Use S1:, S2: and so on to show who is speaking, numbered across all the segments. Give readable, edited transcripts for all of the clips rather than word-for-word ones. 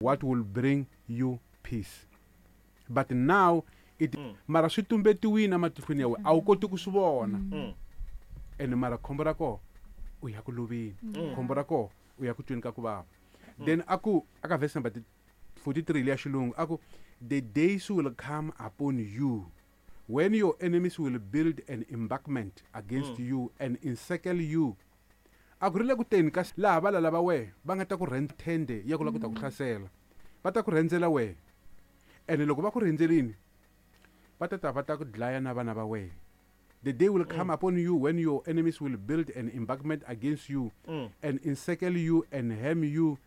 S1: What will bring you peace. But now it mara swi tumbetiwini ematihlweni ya wena, a wu koti ku swi vona. Ene mara khombo ra kona u ya ku loveni, khombo ra kona u ya ku tweni ka ku vava. Then a ku aka verse number 43 leya xilungu a ku, the days will come upon you when your enemies will build an embankment against you and encircle you. A ku ri le ku teni ka laha valala va wehe va nga ta ku tende ya ku lava ku ta ku hlasela, va ta ku rhendzela wehe. Ene loko va ku rhendzelini, va ta ta va ta ku dlaya na vana va wehe. The day will come upon you when your enemies will build an embankment against you and encircle you and hem you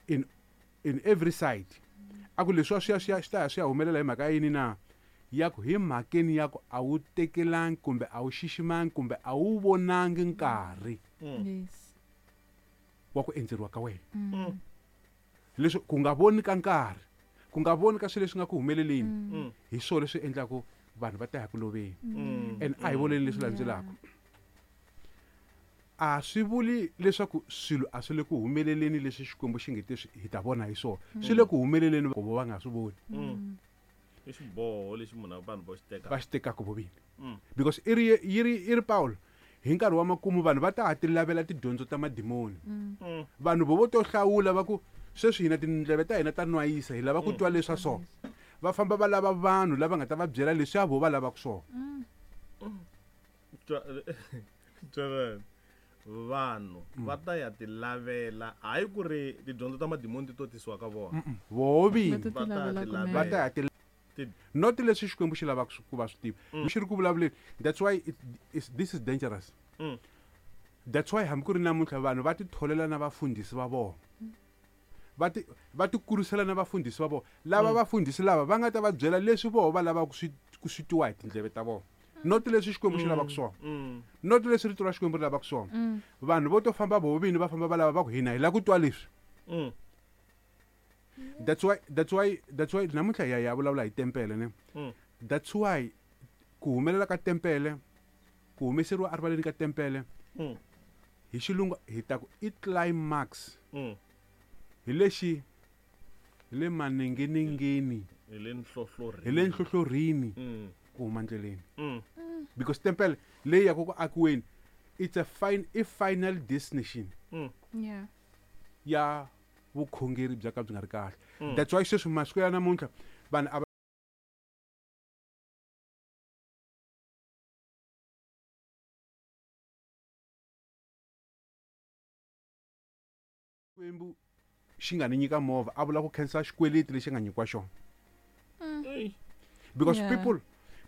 S1: in every side. A ku leswi swi ya swi ya swi ta ya swi ya humelela hi mhaka yini na? Ya ku hi mhakeni ya ku a wu tekelangi kumbe a wu xiximangi kumbe a wu vonangi nkarhi wa ku endzeriwa ka wena. Leswi ku nga voni ka nkarhi, ku nga voni ka swilo leswi nga ku humeleleni, hi swona leswi endlaku vanhu va ta ya ku loveni. And a hi voneni leswi landzelaka. A swi vuli leswaku swilo a swi le ku humeleleni leswi Xikwembu xi nge te hi ta vona hi swona. Swi le ku humeleleni ku va nga swi voni.
S2: I xiboho lexi munhu vanhu va xi tekaka.
S1: Va xi tekaka vo vini. Because i ri Paulo, hi nkarhi wa makumu vanhu va ta ha ti lavela tidyondzo ta madimoni. Vanhu vo to hlawula va ku sweswi hina tindleve ta hina ta nwayisa, hi lava ku twa leswa so. Va famba va lava vanhu lava nga ta va byela leswi a vo va lavaka swona.
S2: Vanhu va ta ya ti lavela, hayi ku ri tidyondzo ta madimoni ti to tisiwa ka vona.
S1: Voho vini.
S2: Va ta ti lavela.
S1: Va ta ya ti not leswi Xikwembu xi lavaka ku va swi tiva. Xi ri ku vulavuleni. That's why this is dangerous. That's why hambi ku ri namuntlha vanhu va ti tholela na vafundhisi va vona. Va ti kurisela na vafundhisi va vona. Lava vafundhisi lava va nga ta va byela leswi voho va lavaka ku swi twiwa hi tindleve ta vona. Not leswi Xikwembu xi lavaka swona. Not leswi rito ra Xikwembu ri lavaka swona. Vanhu vo to famba voho vini va famba va lava va ku hina hi lava ku twa leswi. That's why namuntlha hi ya vulavula hi tempele ne. That's why ku humelela ka tempele, ku humeseriwa erivaleni ka tempele, hi xilungu hi ta ku i climax. Hi lexi, hi le manengenengeni.
S2: Hi le nhlohlorhini.
S1: Hi le nhlohlorhini. Ku huma ndleleni. Because tempele leyi ya ku akiweni, it's a final destination. Ya vukhongeri bya ka byi nga ri kahle. That's why sweswi masiku ya namuntlha vanhu a va Xikwembu xi nga ni nyika movha, a vula ku khensa xikweleti lexi nga nyikiwa xona. Because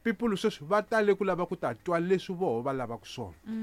S1: people sweswi va tale ku lava ku ta twa leswi voho va lavaka swona.